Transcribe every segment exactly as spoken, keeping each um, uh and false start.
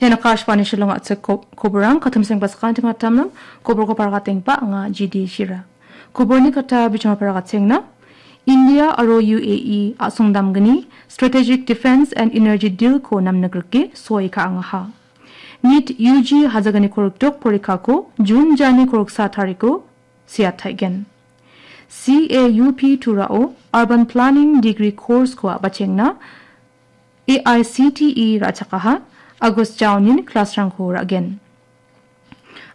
Ian Akashvani Shillong a·chik ko-, koborang katim sengbasakan tinghatamnam koborko paragatengipa anga G D Shira. Koborni kata bijima paragatenga. India aro U A E a·songdamgni Strategic Defense and Energy Deal-ko namnikrike soi ka·angaha. NEET U G hajagni korikdok porikako June jani koriksa tariko siataigen. C A U P Turao Urban Planning Degree Course-ko a·bachengna A I C T E ra·chakaha, August jaonin class-rangko ra·gen.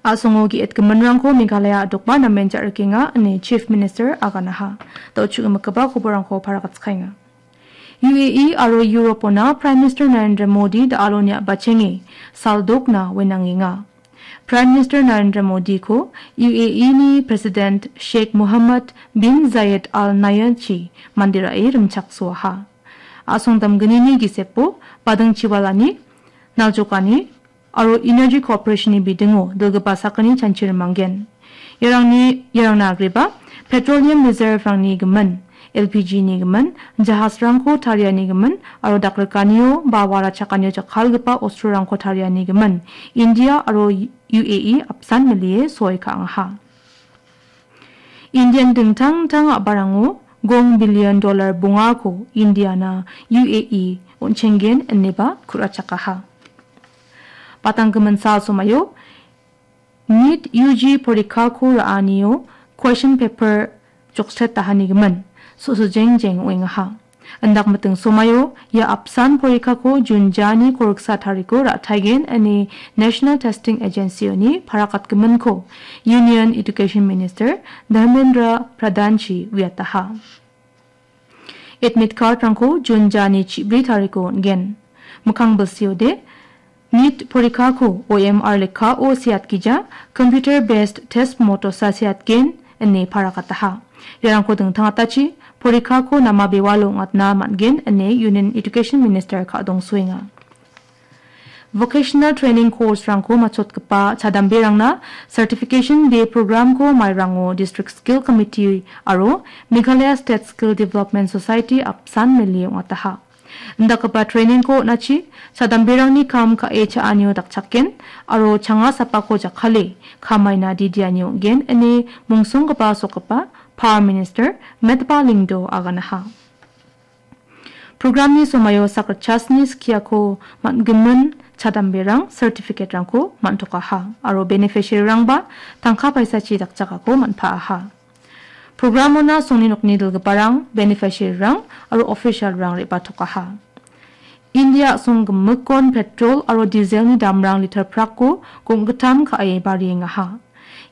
A·songo ge·etgiminrangko Meghalaya a·dokba namen ja·rikenga ine Chief Minister aganaha. Da·o chu·gimikgipa koborrangko paragatskaenga. U A E aro Europona Prime Minister Narendra Modi da·aloni a·bachenge saldokna wenangenga. Prime Minister Narendra Modiko U A E-ni President Sheikh Mohammed bin Zayed Al Nahyan-chi manderae rimchaksoaha. A·songdamgnini gisepo badingchiwalani, naljokani aro energy cooperation-ni bidingo dilgipa sakgni chanchi rimanggen. Iarangni, iarangna agreba petroleum reserve-rangni gimin, L P G-ni gimin, jahasrangko tariani gimin aro dakrikanio ba warachakanio jakkalgipa ostrorangko tariani gimin India aro U A E apsan milie soi ka·angaha. Indian dingtang dingtang a·barango gong billion dollar bongako Indiana U A E on·chenggen ineba ku·rachakaha. Patanggimin sal somaio NEET U G porikako ra·anio question paper joksetahanigimin so·, so·sojeng jeng ong·engaha. Indakmiting somaio ia apsan porikako June jani koriksa tariko ra·taigen ine National Testing Agency-oni parakatgiminko Union Education Minister Dharmendra Pradhan-chi uiataha. Admit card-rangko June jani chibri tariko on·gen. Mikkang bilsiode, NEET porikako O M R lekkao seatgija, computer based test motosa seatgen, ine parakataha. Iarangko dingtangatachi porikako nama bewalo ong·atna man·gen, ine Union Education Minister ka·dongsoenga. Vocational training course-rangko matchotgipa chadamberangna Certification Day program-ko mairango District Skill Committee aro Meghalaya State Skill Development Society apsan mele ong·ataha. Indakgipa training-ko on·achi chadamberangni kam ka·e cha·anio dakchaken aro changa sapako jakkale kamaina didiani ong·gen ine mongsonggipa sokgipa Power Minister Metba Lyngdoh aganaha. Programni somaio sakgitchasni skiako man·gimin chadamberang certificate-rangko man·tokaha aro beneficiary-rangba tangka paisachi dakchakako man·paaha. Programona songni nokni dilgiparang, beneficiary-rang aro official-rang re·batokaha. India a·song gimikkon petrol aro dieselni damrang liter prakko gonggitam ka·e bariengaha.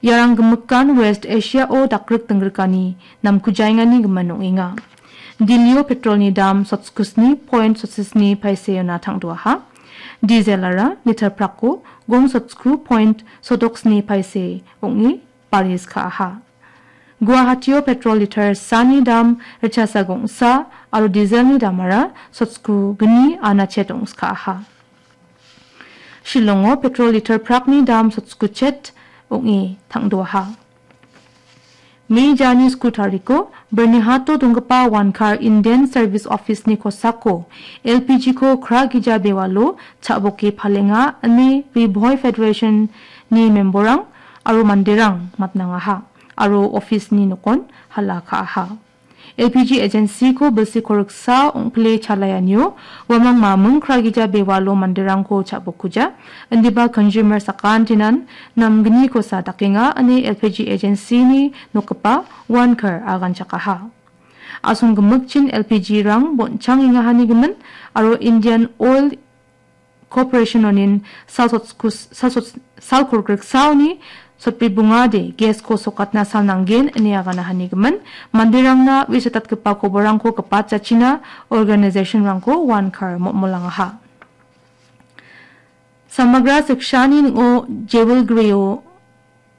Iarang gimikan West Asia-o dakrik dinggrikani namkujaengani gimin ong·enga. Dillio petrolni dam sotskusni point sotsisni paiseona tangdoaha. Dieselara liter prakko gong sotsku point sodoksni paise ong·e baris ka·aha. Guwahatio petrol liter sani dam ritchasa gongsa aro dieselni damara sotsku gni anachet ong·skaaha. Shillongo petrol liter prakni dam sotskuchet ong·e tangdoaha. Me jani sku tariko Bernihato donggipa Wankar Indian Service Office-ni kosako L P G-ko Kragija bewalo cha·boke palenga ine Ri Bhoi Federation-ni memberrang aro manderang matnangaha aro office-ni nokon hala ka·aha. L P G agency-ko bilsi koriksa ong·pile chalaianio uamang maming Kragija bewalo manderangko cha·bokuja, indiba consumer sakantinan namgnikosa dakenga ine L P G agency-ni nokgipa Wankar aganchakaha. A·song gimikchin L P G-rang bon·changengahani gimin aro Indian Oil Corporation-onin sal sotskus-, sal sots-, sal korgriksaoni sotbri bongade gas-ko sokatna sal nanggen ine aganahani gimin, manderangna uisatatgipa koborrangko gipatjachina organization-rangko Wankar mo·molangaha. Samagra Sikshani ning·o Jewel Greo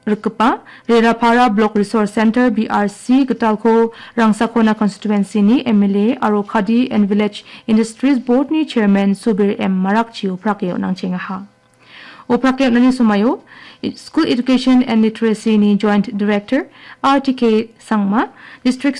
rikgipa Rerapara Block Resource Center, B R C, gitalko Rangsakona Constituency-ni M L A aro Khadi and Village Industries Board-ni Chairman Subir M Marakchi oprake on·angchengaha. Oprake on·ani somaio School Education and Literacy-ni Joint Director R T K Sangma, District